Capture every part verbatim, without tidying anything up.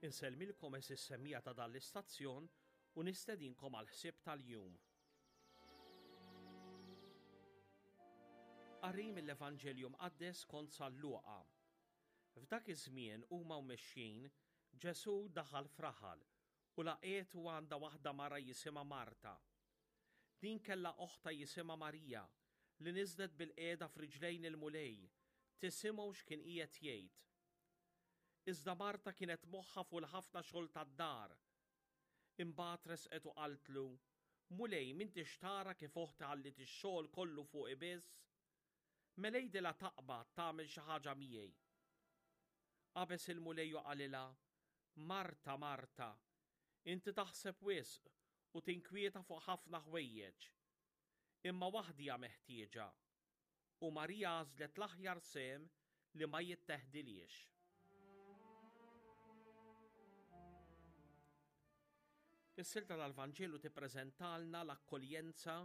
Insellmilkom għeżież semmiegħa ta' dan l-istazzjon u nistedinkom għal ħsieb tal-jum. Qari mill-Evanġelju Mqaddes kont San Luqa. F'dak iż-żmien huma u mexjin, Ġesù daħal f'raħal u laqgħetu għandha waħda mara jisimha Marta. Din kellha oħtha jisimha Marija li niżlet bil-qiegħda f'riġlejn il-Mulej tisimgħu x'kien qiegħed jgħid. Iżda Marta kienet moħħha fuq il-ħafna xogħol tad-dar. Imbagħad resqet u qaltlu, Mulej, m'intix tara kif oħti ħalliet ix-xogħol kollu fuqi biss? Mela għidilha taqbad tagħmel xi ħaġa miegħi. Qabeż il-Mulej u qalilha, Marta, Marta, inti taħseb wisq u tinkwieta fuq ħafna ħwejjeġ. Imma waħda hija meħtieġa, u Marija għażlet l-aħjar sehem li ma jitteħdilhiex. Is-silta tal-Vanġelu tippreżentalna l-akkoljenza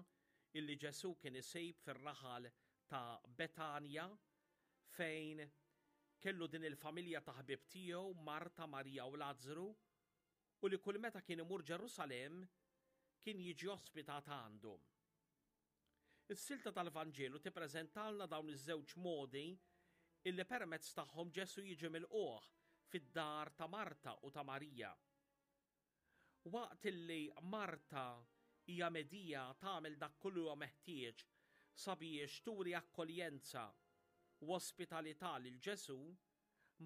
illi Ġesù kien isejb fir-raħal ta' Betanja fejn kellu din il-familja ta' ħbieb tiegħu Marta, Marija u Lazzru, u li kull meta kien imur Ġerusalemm kien jiġi ospitat għandhom. Is-silta tal-Vanġelu tippreżentalna dawn iż-żewġ modi illi permezz tagħhom Ġesù jiġi milqugħ fid-dar ta' Marta u ta' Marija. Waqt illi Marta hija medija tagħmel dak kollu huwa meħtieġ sabiex turi akkoljenza u ospitalità lil Ġesù,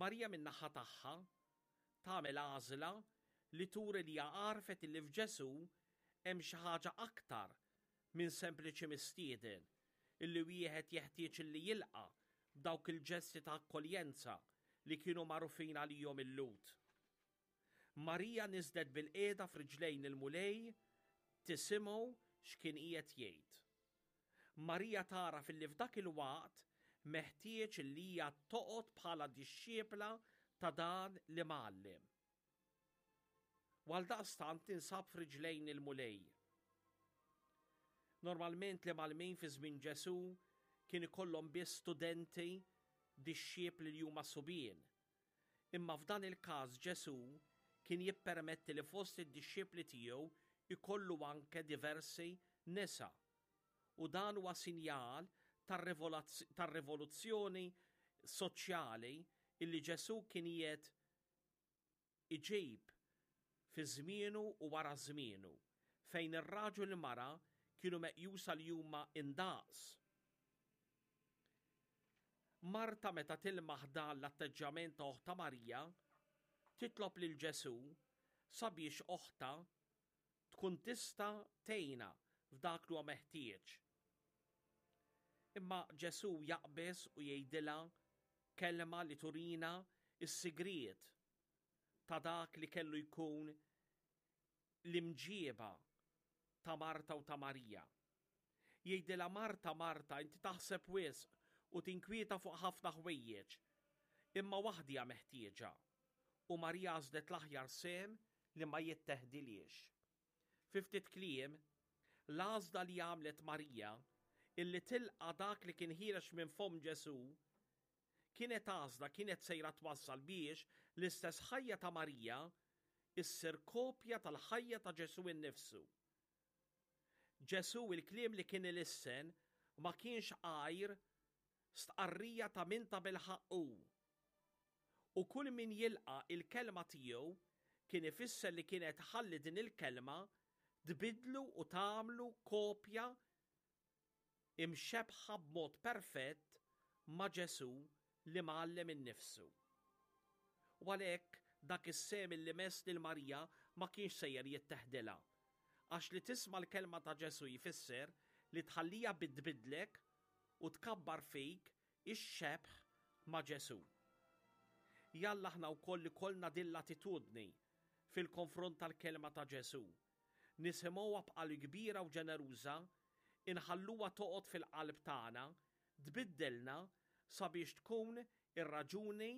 Marija min-naħa tagħha tagħmel għażla li turi li hija għarfet illi f'Ġesù hemm xi ħaġa aktar minn sempliċi mistieden illi wieħed jeħtieġ illi jilqa' b'dawk il-ġesti ta' akkoljenza li kienu magħrufin għalihom il-Lhud. Marija niżlet bil-qiegħda f'riġlejn il-Mulej tisimgħu x'kien qiegħed jgħid. Marija tara filli f'dak il-waqt meħtieġ li hija toqgħod bħala dixxiepla ta' dan li mgħallem. U għaldaqstant tinsab f'riġlejn il-Mulej. Normalment li mgħallmin fi żmien Ġesù kien ikollhom biss studenti dixxiepli li huma subien. Imma f'dan il-każ Ġesù kien jippermetti li fost id-dixxipli tiegħu ikollu anke diversi nisa. U dan huwa sinjal tar-rivoluzzjoni soċjali illi Ġesù kien qiegħed iġib fi żmienu u wara żmienu, fejn ir-raġel u l-mara kienu meqjusa li huma indaqs. Marta meta tilmaħ dan l-atteġġjament ta' oħta Marija, titlob lil Ġesù sabiex oħta tkun tista' tgħinha f'dak li huwa meħtieġ. Imma Ġesù jaqbeż u jgħidilha kelma li turina s-sigriet ta' dak li kellu jkun l-imġieba ta' Marta u ta' Marija. Jgħidilha Marta, Marta, inti taħseb wisq u tinkwieta fuq ħafna ħwejjeġ, imma waħda hija meħtieġa. U Marija għażlet l-aħjar sehem li ma jitteħdilhiex. Fi ftit kliem, l-għażla li għamlet Marija illi tilqa' dak li kien ħiereġ minn fomm Ġesù kienet għażla kienet sejra twassal biex l-istess ħajja ta' Marija issir kopja tal-ħajja ta' Ġesù innifsu. Ġesù il-kliem li kien ilissen ma kienx għajr stqarrija ta' min ta' bilħaqq hu. U kull min jilqa' il-kelma tiegħu kien ifisser li kienet ħalli din il-kelma tbidlu u tagħmlu kopja imxebħa b'mod perfett ma' Ġesù li mgħallem innifsu. U għalhekk dak is-sehem li mess lil Marija ma kienx sejjer jitteħdilha, għax li tisma' l-kelma ta' Ġesù jfisser li tħallija bidbidlek u tkabbar fik ix-xebh ma' Ġesù. Jalla aħna wkoll ikollna din l-attitudni fil-konfront tal-kelma ta' Ġesù. Nisimgħuha b'qalb kbira u ġeneruża, inħalluha toqgħod fil-qalb tagħna, tbiddilna sabiex tkun ir-raġuni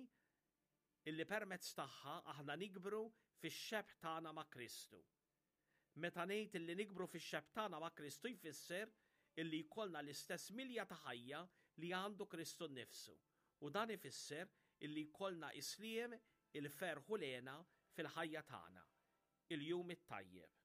illi permezz tagħha aħna nikbru fix-xebh tagħna ma' Kristu. Meta ngħid illi nikbru fix-xebh tagħna ma' Kristu jfisser illi jkollna l-istess milja ta' ħajja li għandu Kristu nnifsu. U dan ifisser illi jkollna isliem il-ferħ u l-hena fil-ħajja tagħna. Il-jum it-tajjeb.